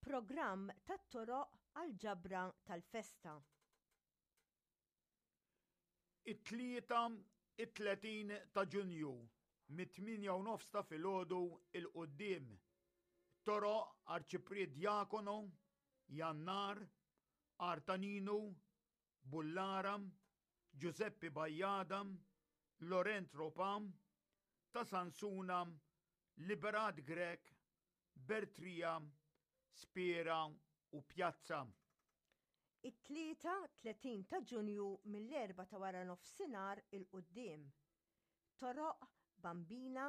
Programm tat-toroq għall-ġabra tal-festa. It-Tlieta, it-30 ta' Ġunju, mit-tmienja u nofs ta' filgħodu 'l quddiem. Toroq Arċipriet Diacono, Jannar, Artaninu, Bullara, Ġużeppi Bajada, Laurent Ropa, ta' Sansuna, Liberat Grech, Bertrija, Spiera u Pjazza. It-Tlieta, 30 ta' Ġunju mill-erbgħa ta' waranofsinhar 'il quddiem. Toroq, Bambina,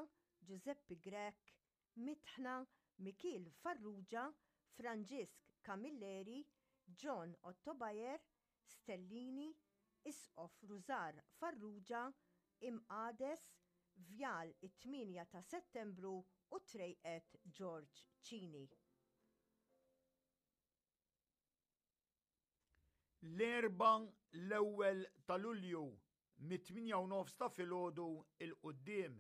Ġużeppi Grech, Mitħna, Mikiel Farrugia, Franġisk Camilleri, John Ottobayer, Stellini, Isqof Rużar Farrugia, Imqades, Vjal it-Tmienja ta' Settembru u Trejqet Ġorġ Cini. L-Erbgħa l-ewwel ta' Lulju mit-tmienja u nofs ta' filgħodu 'l quddiem.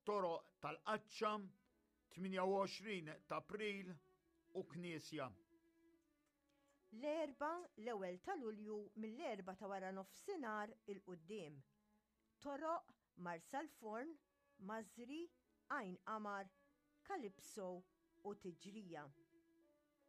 Toroq tal-Qaċċa, 28 t'April u Knisja. L-Erbgħa l-ewwel ta' Lulju mill-erbgħa ta' waranofsinhar 'il quddiem. Toroq Marsalforn, Mażri, Għajn Qamar, Calypso u Tiġrija.